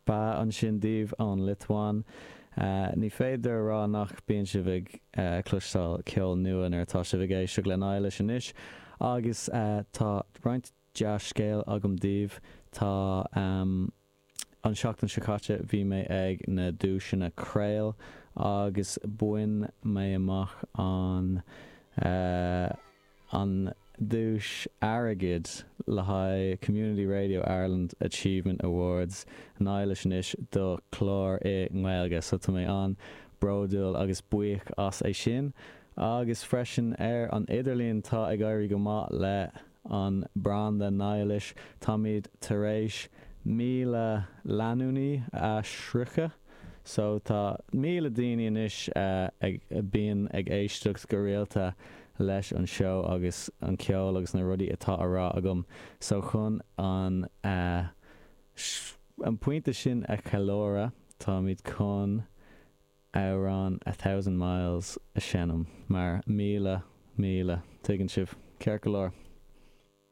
Ba ansin daoibh ón Liotuáin. Ní féidir a rá nach bíonn sibh ag cloisteáil ceol nua nuair atá sibh ag éisteacht le Niallish anois. Agus tá roinnt dea-scéal agam daoibh. Tá an seachtain seo caite bhí mé ag na duaiseanna Craol agus bhain mé amach an an duais airgid le haghaidh Community Radio Ireland Achievement Awards Niallish anois do chlár i nGaeilge so tá mé an-bhródúil agus buíoch as é sin. Agus freisin ar an idirlíon tá ag éirí go maith le an branda Niallish, táimid tar éis 1,000 leanúnaí a shroicheadh. So tá 1,000 daoine anois ag bíonn ag éisteacht go rialta leis an seó agus an ceol agus na rudaí atá á rá agam. So chun an an pointe sin a cheiliúradh táimid chun amhrán A Thousand Miles a sheinm mar 1,000 míle, tuigeann sibh, ceart go leor.